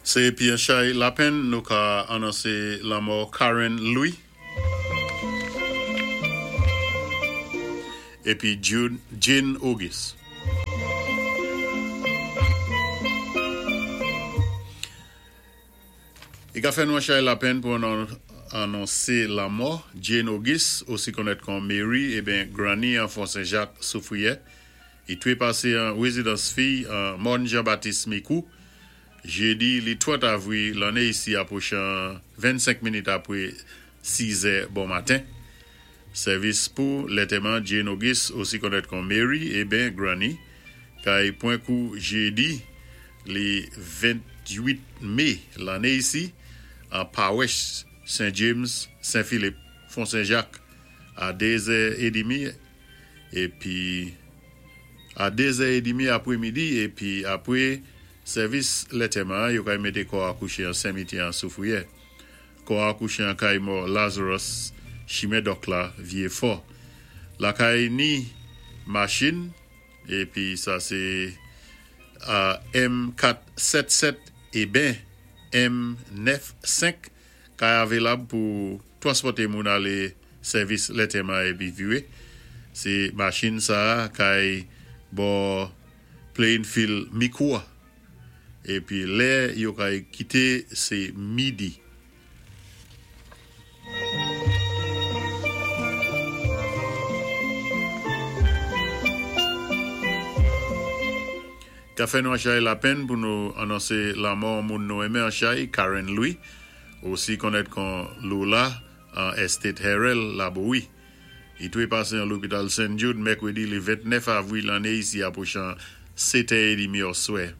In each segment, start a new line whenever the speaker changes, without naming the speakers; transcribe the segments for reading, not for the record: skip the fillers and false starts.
Sé épi an chay lapenn nou ka anonsé lanmò Karen Louis épi Jane Auguste. I ka fè nou an chay lapenn pou anonsé lanmò Jane Auguste, osi konnèt kon Mary eben Granny an Fon Sen Jak, Soufriyè. I twé pasé an rézidans fiy an Mòn Jan Batis Mikou, jédi li 30 avwi lanné isi apwochan 25 minit apwé 6 zè bon maten. Sèvis pou lètèman Jane Auguste, osi konnèt kon Mary eben Granny, kay pwan kou jédi li 28 mé lanné isi an pawès Sen James, Sen Filip, Fon Sen Jak a 2 zè edimi epi a 2 zè edimi apwé midi epi apwé sèvis lètèman an yo kay mété kò a kouché an senmityè an Soufriyè. Kò a kouche an kay mò Lazarus chimen dòk la vye fò lakay ni machin epi sa se M 4 7 7 eben M 9 5 kay avelab pou twanspòte moun ale sèvis lètèman epi vire se machin sa kay bò Plainfield Mikou a. Epi lè yo kay kite se midi. Ka fè nou an chay lapenn pou nou anonse lanmò yon moun nou renmen an chay, Karen Louis, osi konnèt kon Lola an Estate Herel, Labowi. Li trepase an lopital St. Jude mèkredi le 29 avril lanne isi apwochan 7 è edimi òswè.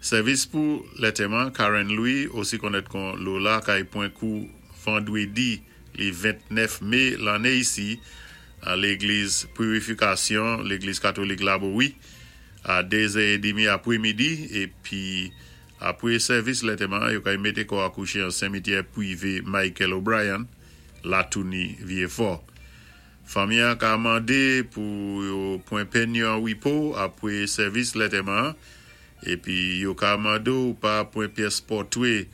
Sèvis pou lètèman Karen Louis, osi konnèt kon Lola kay pwen kou vandredi le 29 me lanne isi an legliz Purifikasyon legliz katolik Labowi a 2 zè edimi apremidi epi apre sèvis lètèman yo kay mete kò a kouche an semityè pwive Michael O'Brien. Latouni Vyefò. Fanmi an ka mande pou yo pwen penn yo an repo apre sèvis lètèman an, epi yo ka mande w pa pwen pyès pòtwe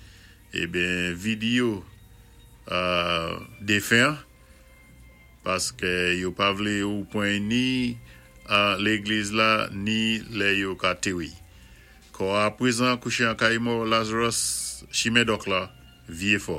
eben vidiyo defen an, paske yo pa vle ou pwen ni legliz la ni lè yo ka tere. Kò a prezan kouche an kay mò Lazarus chimen dòk la vye fò.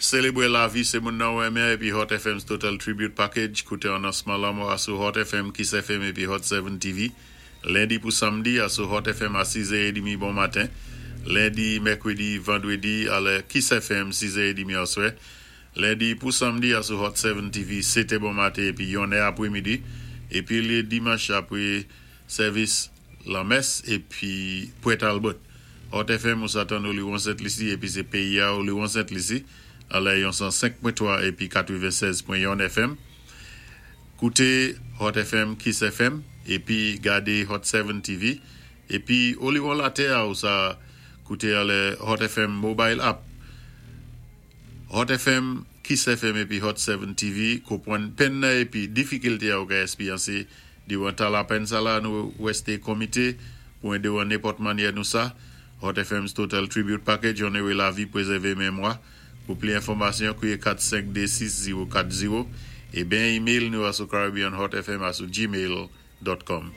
Selebre lavi se moun nan ou renmen epi Hot FM's Total Tribute Package koute anonsman lanmò a sou Hot FM, Kiss FM epi Hot 7 TV Lendi pou Samdi a sou Hot FM a 6 è edimi bon maten Lendi, Mèkredi, Vandredi a lè Kiss FM 6 è edimi aswè Lendi pou Samdi a sou Hot 7 TV 7 è bon maten epi 1 è apremidi epi le Dimanch apre sèvis lanmès epi Pwè Talbot Hot FM ou sa tann Oliwon Sent Lisi epi se peyi a Oliwon Sent Lisi a lè yon 105.3 epi 96.1 FM. Koute Hot FM Kiss FM epi gade Hot 7 TV epi oliwon latè a ou sa koute alè Hot FM mobile app Hot FM Kiss FM epi Hot 7 TV konpwann penn nan epi difikilte a ou ka espyanse diran tan lapenn sa la nou rèste komite pou ede w an nenpòt manyè nou sa Hot FM's Total Tribute Package onere lavi prezève memwa Pou pli enfòmasyon, kriye 4 5 2 6 0 4 0 e ben email nou a sou caribbeanhotfm a sou gmail dot com.